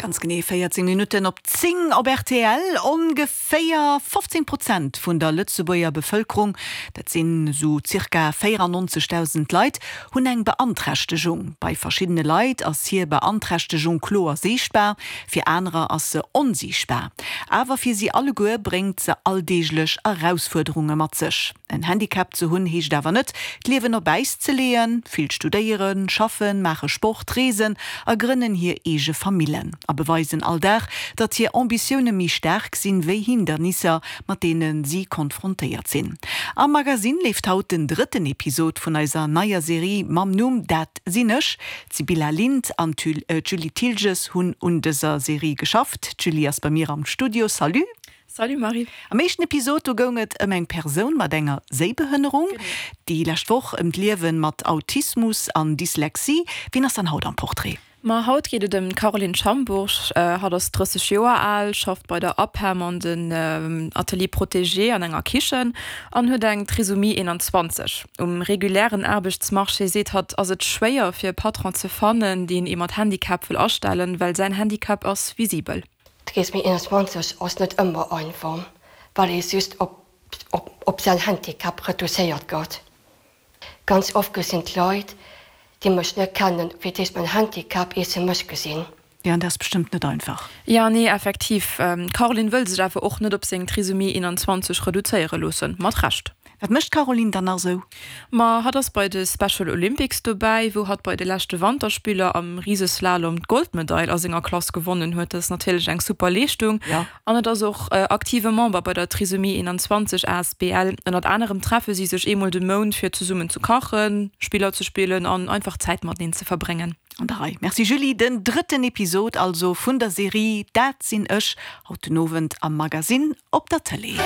Ganz genee 14 Minutten op 10 op rtl. Ongeféier 15 Prozent vun der Lëtzebuerger Bevëlkerung, dat sinn esou zirka 94.000 Leit, hunn eng Beanträchtegung. Bei verschiddene Leit ass hir Beanträchtegung kloer siichtbar, fir anerer ass se onsiichtbar. Awer fir si alleguer bréngt se alldeeglech Erausfuerderunge mat sech. En Handicap ze hunn heescht awer net, d'Liewen op Äis ze leeën. Vill studéieren, schaffen, maache Sport, reesen a grënnen hir eege Famillen a beweisen all Dag, datt hir Ambitioune méi staark sinn wéi Hindernisser, mat deene si konfrontéiert sinn. Am Magasinn leeft haut den drëtten Episod vun eiser neier Serie mam Numm Dat sinn ech. D'Sibylla Lindh an d'Julie Thilges hunn un dëser Serie geschafft. D'Julie ass bei mir am Studio. Salut! Salut Marie. Am éischten Episod do goung et ëm eng Persoun mat enger Séibehënnerung, déi lescht Woch ëm d'Liewen mat Autismus an Dyslexie. Wien ass dann haut am Portrait? Ma haut geet et ëm d'Caroline Schambourg. Hatt ass 30 Joer al, schafft bei der APEM an den Ateliers protégés an enger Kichen an huet eng Trisomie 21. Um regulären Aarbechtsmarché, seet hatt, ass et schwéier fir e Patron ze fannen, deen ee mat Handicap wëll astellen, well säin Handicap ass visibel. D'Trisomie 21 ass net ëmmer einfach, well ee just op säin Handicap reduzéiert gëtt. Ganz oft gesinn d'Leit, déi mech net kennen, fir d'éischt mäin Handicap, ier se mech gesinn. Jo, an dat ass bestëmmt net einfach. Jo, nee, effektiv. D'Caroline wëll sech awer och net op seng Trisomie 21 reduzéiere loossen. Mat Recht. Wat mécht d'Caroline dann nach esou? Ma hatt ass bei de Special Olympics dobäi, wou hatt bei de leschte Wanterspiller am Riseslalom d'Goldmedail a senger Klass gewonnen huet. Dat ass natierlech eng super Leeschtung. An et ass och aktive Member bei der Trisomie 21 asbl. Ënnert anerem treffe si sech eemol de Mount fir zesummen ze kachen, Spiller ze spillen an einfach Zäit mateneen ze verbréngen. An der Rei. Merci Julie. Den drëtten Episod also vun der Serie Dat sinn ech, haut den Owend am Magasinn op der Tëlee.